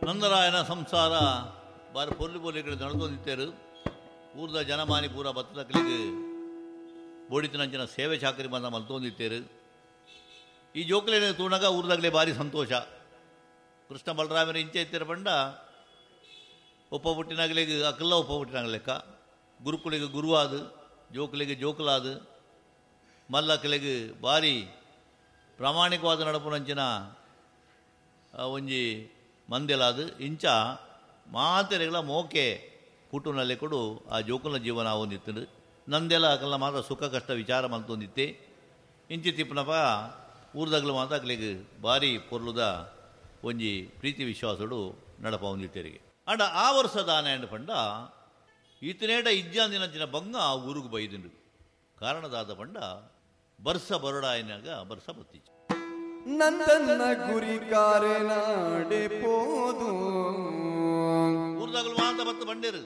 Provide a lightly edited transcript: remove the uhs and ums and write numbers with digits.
ನಂದರಾಯನ ಸಂಸಾರ ಬಾರಿ ಪೊರ್ಲು ಪೊರ್ಲು ನಡತೊಂದಿತ್ತೇರು. ಊರ್ದ ಜನಮಾನಿ ಪೂರ ಬತ್ತದಕ್ಲೆಗ್ ಬೋಡಿತಿನಂಚಿನ ಸೇವೆ ಚಾಕರಿ ಬಂದ ಮಲ್ತೊಂದಿತ್ತೇರು. ಈ ಜೋಕುಲೇನ ತೂನಗ ಊರ್ದಾಗಲೇ ಭಾರಿ ಸಂತೋಷ. ಕೃಷ್ಣ ಬಲರಾಮರ ಇಂಚೆ ಇತ್ತೆರ ಪಂಡ ಒಪ್ಪ ಪುಟ್ಟಿನಾಗಲಿಗೆ ಅಕಲ್ಲ ಒಪ್ಪ ಪುಟ್ಟಿನಾಗ ಲೆಕ್ಕ, ಗುರುಕುಲಿಗೆ ಗುರುವಾದ, ಜೋಕುಲಿಗೆ ಜೋಕುಲಾದ, ಮಲ್ಲಕಲೆಗ್ ಭಾರಿ ಪ್ರಾಮಾಣಿಕವಾದ ನಡಪುನಂಚಿನ ಒಂಜಿ ಮಂದೆಲಾದ ಇಂಚ ಮಾತೆರೆಗಳ ಮೋಕೆ ಪುಟ್ಟುನಲ್ಲೇ ಕೊಡು ಆ ಜೋಕುಲ ಜೀವನ ಆವೊಂದಿತ್ತು. ನಂದೆಲ ಅಕಲ್ನ ಮಾತ್ರ ಸುಖ ಕಷ್ಟ ವಿಚಾರ ಮಲ್ತೊಂದಿತ್ತೆ. ಇಂಚಿ ತಿಪ್ಪನಪ ಊರ್ದಗ್ಲು ಮಾತ್ರ ಅಕ್ಲೆಗ್ ಭಾರಿ ಪೊರ್ಲುದ ಒಂಜಿ ಪ್ರೀತಿ ವಿಶ್ವಾಸಡು ನಡಪವೊಂದಿತ್ತೆರಿಗೆ. ಆಂಡ ಆ ವರ್ಷ ದಾನೆ ಪಂಡ ಈತನೇಟ ಇಜ್ಜಾಂದಿನಂಚಿನ ಬಂಗ ಆ ಊರುಗು ಬೈದಿಂಡು. ಕಾರಣದಾದ ಪಂಡ ಬರ್ಸ ಬರಡಾಯಿನಾಗ ಬರ್ಸ ಬತ್ತಿச்சு. ನಂದನ್ನ ಗುರಿ ಕಾರೆನಾಡೆ ಪೋದು ಊರ್ದಾಗಲು ಮಾತ ಬತ್ತು ಬಂಡೇರು.